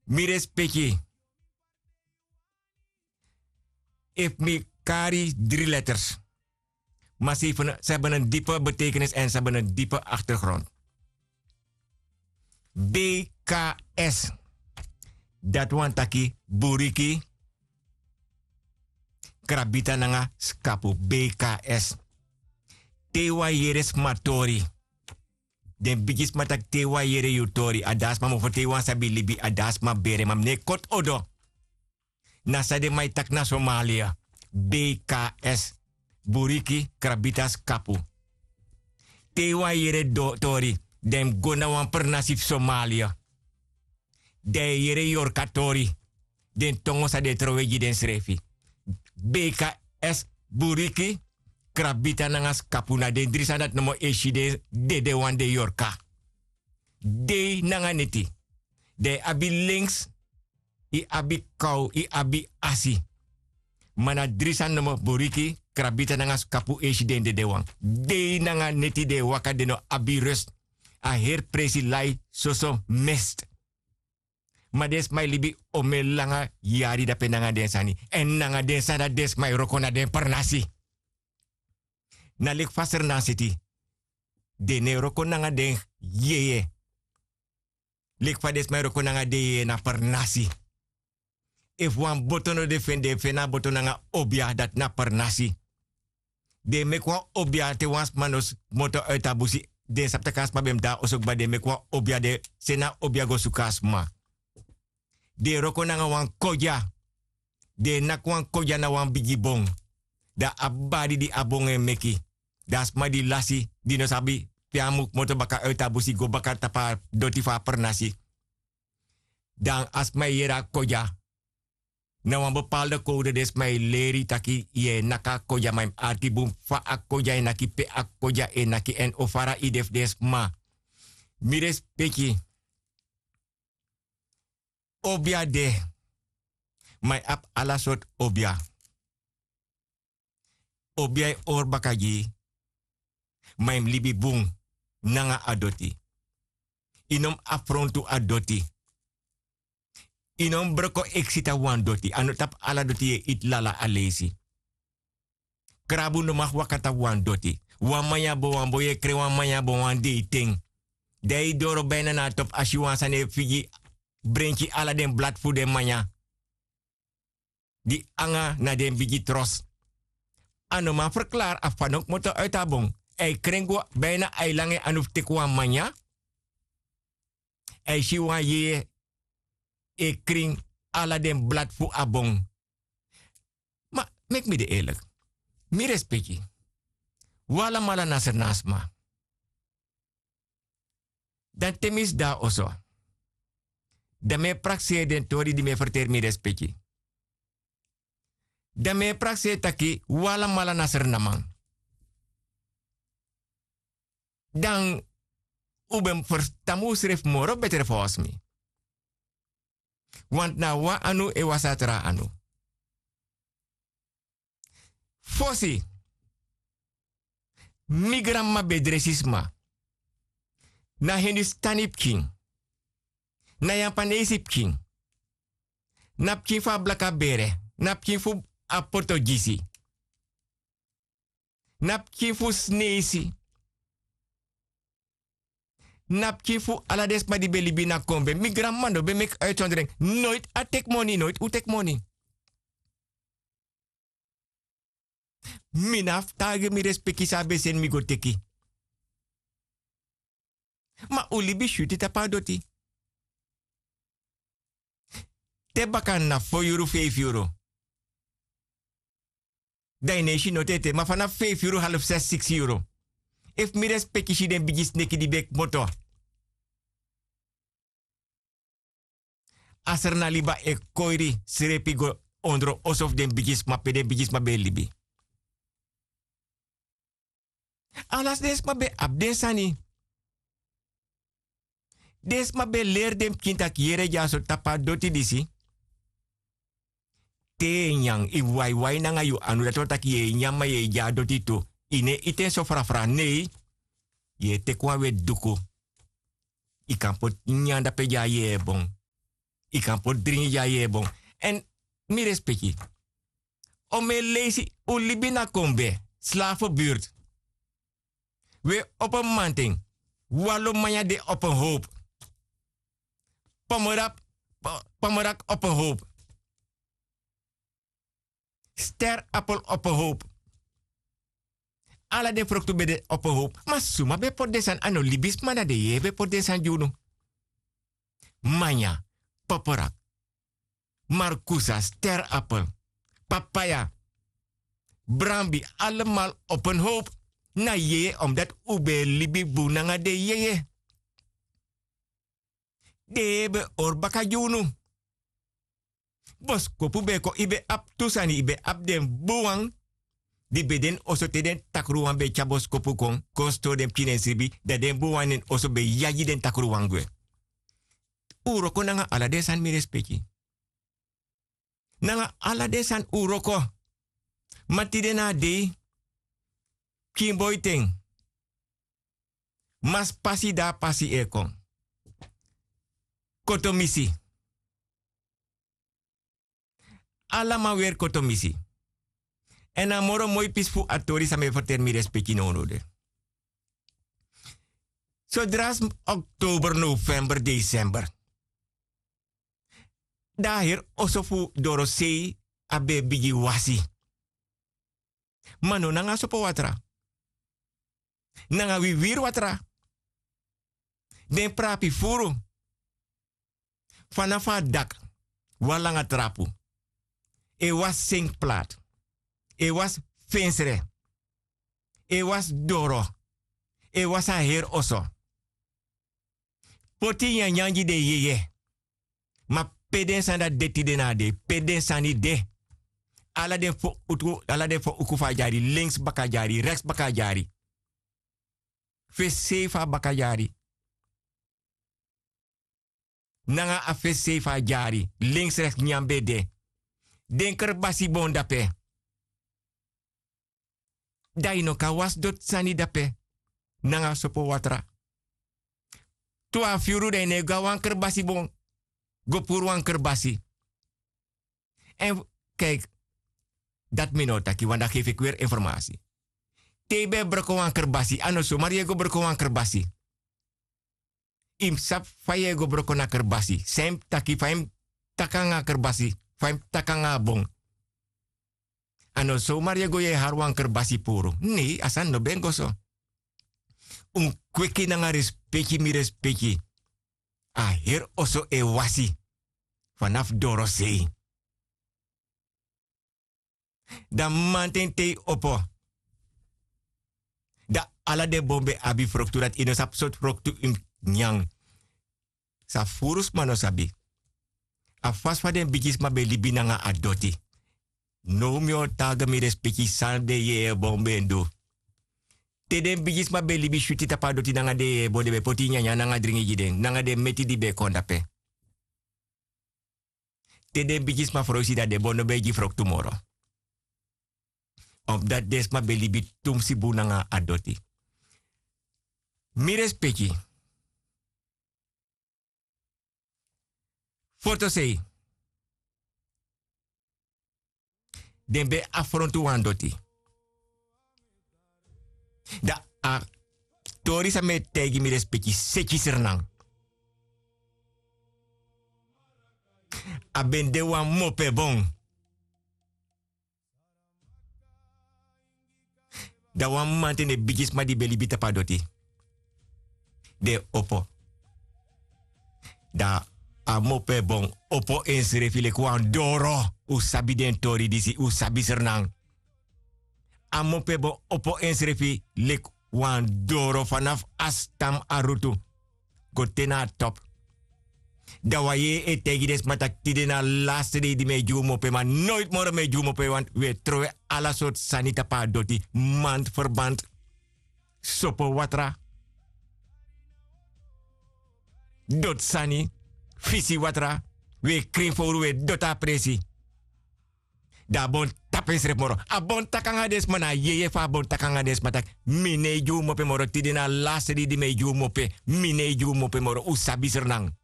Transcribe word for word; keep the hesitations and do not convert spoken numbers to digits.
Mi respeki. Efu mi kari dri letters, ma se yu fu na se ben en dipe betekenis èn se ben en dipe aktergrond. B K S, dati wani taki buriki, krabita nanga skapu. B K S. Te yu wani yere sma tori, den bigi sma taki te yu wani yere yu tori a de a sma mofo te yu wani sabi libi a de a sma bere ma mi no e koti odo. Na san den man e taki na somalia. B K S, buriki krabita skapu. Te yu wani yere tori, den mus go na wan pernasi fu somalia. Den e yere yorka tori, den tongo san den e trowe gi densrefi. B K S, buriki, krabita nanga skapu na den dri sani dati nomo e si den dede wan den yorka. Dei nanga neti. Dan yu abi links, yu abi kaw, yu abi asi. Ma na dri sani nomo boriki, krabita nanga skapu e si den dede wan. Dei nanga neti den e waka den no abi rust. A heri presi lai soso mest. Ma den sma e libi omen langa yari dape nanga den sani èn nanga den sani dati den sma e wroko na den pernasi. Na leki fa sernasiti den no e wroko nanga den yeye. Leki fa den sma e wroko nanga den yeye na pernasi. Efu wan boto no de feni den feni a boto nanga obia dati na pernasi. Den e meki wan obia te wan sma no kmoto uiti a busi. Den sabi tak' a sma ben mus de na oso kba den e meki wan obia den seni a obia go suku a sma. Den e wroko nanga wan kodia. Den e naki wan kodia na wan bigi bon. Dan a bari di a bon e meki, dan a sma di lasi di no sabi pe a mu kmoto baka uiti a busi go baka tapu a doti fu a pernasi. Dan a sma e yere a kodia. Na wan bepalde kowde den sma e leri yu taki yu e naki a kodia ma yu mus arki bun fa a kodia e naki pe a kodia e naki èn o fara yu de fu den sma. Mi respeki. Obia de. Ma yu abi ala sortu obia. Obia e hori baka gi yu. Ma yu mus libi bun nanga a doti. Yu no mus afrontu a doti. Yu no mus broko eksi tapu wan doti a no tapu ala doti yu e iti lala a leisi. Krabu no maki waka tapu wan doti. Wan manya bon wan bon yu e kren wan manya bon wan deiten. Dan yu doro baina na a topu a si wan sani e figi brenki ala den blati fu den manya di anga na den bigi tros. A no man ferklari a fa no kmoto uiti a bon. A e kren go baina a e langa en anu fu teki wan manya. A e si wan yeye e krin ala den blati fu a bon. Ma meki mi de erliki. Mi respeki. Wi alamala na sernasma. Dan te mi sidon na oso, dan mi e prakseri den tori di mi e ferteri mi respeki. Dan mi e prakseri taki wi alamala na srnaman. Dan un ben mus ferstan mi unsrefi moro betre fowsi mi. Wantu na a wan anu e wasi a tra anu. Fosi mi granmama ben e dresi sma. Na hindustani pikin, na yapanesi pikin, na pikin fu a blaka bere, na pikin fu a portogisi, na pikin fu sneisi, na pikin fu ala den sma di ben libi ini a kombe mi granmama no ben meki uitsondering. Noiti a teki moni noiti un teki moni. Mi na fu taigi mi respeki san a ben seni mi go teki. Ma un libi syuti tapu a doti. Te baka na fo yuru feifi yuru. Dan yu no e si noti ete ma fanafu feifi yuru halfu sesi siksi yuru. Efu mi respeki si den bigi sneki di ben kmoto, a srna liba e koiri srepi go ondro oso fu den bigisma pe den bigisma ben e libi. Ala den sma ben abi den sani. Den sma ben leri den pikin taki yere gi a sortu tapu a doti disi. Te yu e nyan yu waiwai nanga yu anu dati wani taki yu e nyan ma yu e gi a doti tu. Yu no e iti en so frafra nei. Yu e teki wan weti duku. Yu kan poti nyan dape gi a yeye bon. Yu kan poti dringi gi a yeye bon. Èn mi respeki, on mi e leisi un libi na kombe, slafu birti. Un e opo mamanten. Walo manya de opo howpu. Pomorak, pomorak opo howpu. Ster apel opo howpu. Ala den froktu ben de opo howpu. Ma suma ben poti den sani? A no libisma na den yeye ben poti den sani gi unu. Manya, poporak, markusa, ster apel, papaya, brambi, alamal opo howpu. Na yeye omdati un ben e libi bun nanga den yeye. Den yeye ben hori baka gi unu. Boskopu ben e kon, yu ben abi tu sani, yu ben abi den bun wan di ben de na oso te den takruwan ben e tyari boskopu kon kon stori den pikin na en sribi, dan den bun wan na en oso ben e yagi den takruwan gwe. Un wroko nanga ala den sani, mi respeki. Nanga ala den sani un wroko. Ma tide na a dei, pikin boiten, mas pasi, di a pasi e kon. Kotomisi. Ala man weri kotomisi. Èn a moro moi pisi fu a tori san mi e ferteri, mi respeki, nownow de. Sodra oktober, november, desember, dan a heri oso fu dorosei a ben e bigin wasi. Ma no nanga sopo watra, nanga wiwiri watra. Den prapi furu. Fanafu a daki, wan langa trapu, e wasi senki plati, e wasi fensre, e wasi doro, e wasi a heri oso. Poti nyanyan gi den yeye. Ma pe den sani dati de tide na a dei? Pe den sani de? Ala den fo uku, ala den fo uku fu a dyari, lenks baka dyari, reks baka dyari. Fesi sei fu a baka dyari. Nanga a fesi sei fu a dyari, lenks reks nyan ben de. Den kerbasi bon dape. Dan yu no kan wasi doti sani dape nanga sopo watra. Twafu yuru dan yu no e go na wan kerbasi bon, go puru wan kerbasi. Èn, kijk, dati mi no o taki, want dan geef ik weer informatie. Te yu ben e broko wan kerbasi, a no somari yu e go broko wan kerbasi. Yu mus sabi fa yu e go broko na kerbasi, san yu mus taki, fa yu mus taki nanga a kerbasi, fa yu mus taki nanga a bon. A no somari yu e go, yu e hari wan kerbasi puru. Nei, a sani no ben go so. Un kweki nanga respeki, mi respeki. A heri oso e wasi fanafu dorosei. Dan mamanten te yu opo, dan ala den bon ben abi froktu, dati yu no sabi sortu froktu yu mus nyan. San furu sma no sabi, a fasi fa den bigisma ben libi nanga a doti. Now mi o taigi, mi respeki, san den yeye bon ben du. Te den bigisma ben libi switi tapu a doti nanga den yeye bon, den ben poti nyanyan nanga dringi gi den, nanga den meti di ben kon dape. Te den bigisma froisi, dan den bon no ben e gi froktu moro. Omdati den sma ben libi tumsi bun nanga a doti. Mi respeki. Fotosei. Den ben afrontu wan doti. Dan a tori san mi e taigi, mi respeki, seti Sranan. A ben de wan mopebon. Dan wan mamanten den bigisma di ben libi tapu a doti, den opo. Dan a mopebon opo ensrefi leki wan doro. Un sabi den tori disi, un sabi Sranan. A mopebon opo ensrefi leki wan doro, fanafu a stam, a rutu, go te na a topu. Dan wan yeye e taigi den sma taki tide na a laste dei di mi e gi un mope, ma noiti moro mi e gi un mope, want wi e trowe ala sortu sani tapu a doti, mand, ferband, sopo watra, doti sani, fisi watra, wi e krin fowru, wi e doti a presi. Dan a bon tapu ensrefi moro. A bon taki nanga den sma, na a yeye fu a bon taki nanga den sma taki: Mi no e gi un mope moro, tide na a laste dei di mi e gi un mope. Mi no e gi un mope moro, un sabi Sranan.